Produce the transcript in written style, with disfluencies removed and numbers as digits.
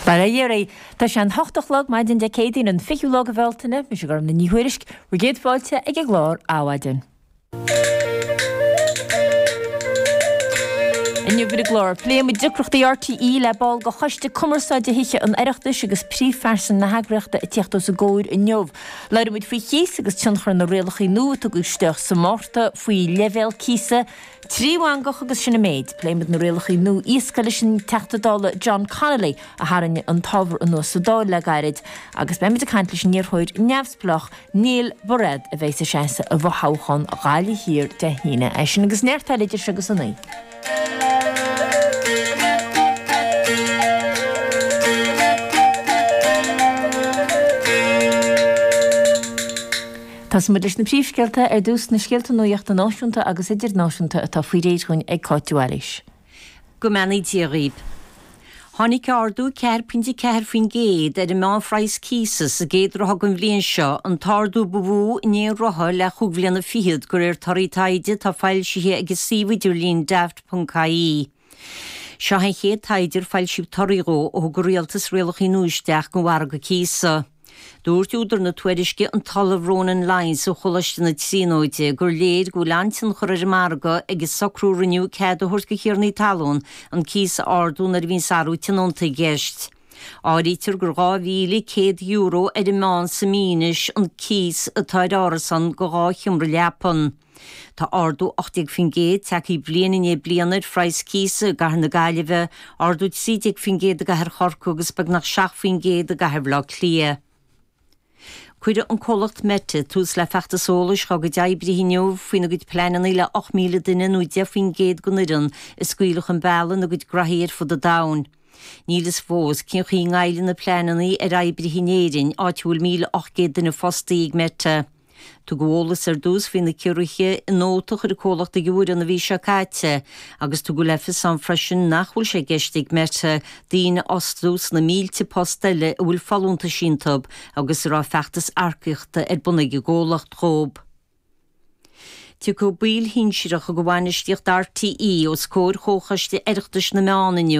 Bail ó Dhia oraibh. Tá sé an hocht a chlog maidin Dé Céadaoin an 20ú lá de Bhealtaine. Mise Gormfhlaith Ní Thuairisg, bhur gcéad fáilte ag an gclár Adhmhaidin. Inniu ar an gclár, pléifidh muid deacrachtaí RTÉ le ball de Choiste Cumarsáide Thithe an Oireachtais agus príomhphearsan na heagraíochta ag tíocht os a gcomhair inniu. Labhróidh muid faoi chíos agus tionchar na rialacha nua a tugadh isteach sa Mhárta faoi leibhéal cíosa. 3 mheangadh agus sin an méid. Pléifidh muid na rialacha nua iascaigh leis an Teachta Dála John Connolly a tharraing an t-ábhar anuas sa Dáil le gairid agus beidh muid ag caint leis an iarrthóir neamhspleách Neil Bairéad a bheidh ag seasamh i bhfothoghchán Ghaillimh Thiar Dé hAoine. É sin agus neart eile idir seo agus a naoi. Tosóidh muid leis na príomhscéalta ar dtús, na scéalta nuachta náisiúnta agus idirnáisiúnta atá faoi réir dhúinn ag Cáit de Bhailís. Go mbeannaí Dia dhaoib. Tháinig ardú 4.4% ar an meánphraghas cíosa sa gcéad ráithe den bhliain seo, an t-ardú ba mhó in aon ráithe le chúig bhliana fichead, de réir torthaí taighde atá foilsithe ag an suíomh idirlín Daft.ie. Seo an chéad taighde ar foilsíodh torthaí dhó ó thug an rialtas rialacha nua isteach don mhargadh cíosa. Dúirt údar na tuairisce, an tOllamh Ronan Lyons ó Choláiste na Tríonóide, gur léir go bhfuil an-tionchar ar an margadh ag an socrú a rinneadh cead a thabhairt do thiarnaí talún an cíos a ardú nuair a bhíonns athrú tionónta i gceist. Áirítear gur €2,100 ar an meán sa mí anois an cíos atá ar árasán de dhá sheomra leapan. Tá ardú 18% tagtha bliain i ndiaidh bliana ar phraghas cíosa i gcathair na Gaillimhe, ardú 13% i gcathair Chorcaí agus beagnach 7% i gcathair Bhaile Átha Cliath. Cuirfidh an comhlacht Meta tús le feachtas eolais dá gcuid oibrithe inniu faoina gcuid pleananna le 8,000 duine nó 10% den fhoireann a scaoileadh chun bealaigh ina gcuid graithí ar fud an domhain. Níl fhios fós cén chaoi a ngoillfidh na pleananna ar oibrithe in Éirinn, áit a bhfuil 1,800 duine fostaithe ag Meta. Tugadh eolas ar dtús faoi na ciorruithe i nóta a chuir an comhlacht ag an bhfoireann an mhí seo caite agus tugadh le fios ann freisin nach bhfuil sé i gceist ag Meta daoine a fhostú sna mílte post eile a bhfuil folúntais iontu agus a raibh feachtas earcaíochta ar bun ag an gcomhlacht dhóibh. Tiocfaidh baill shinsearacha de bhainistíocht RTÉ os comhair Chomhchoiste Oireachtais na Meán inniu.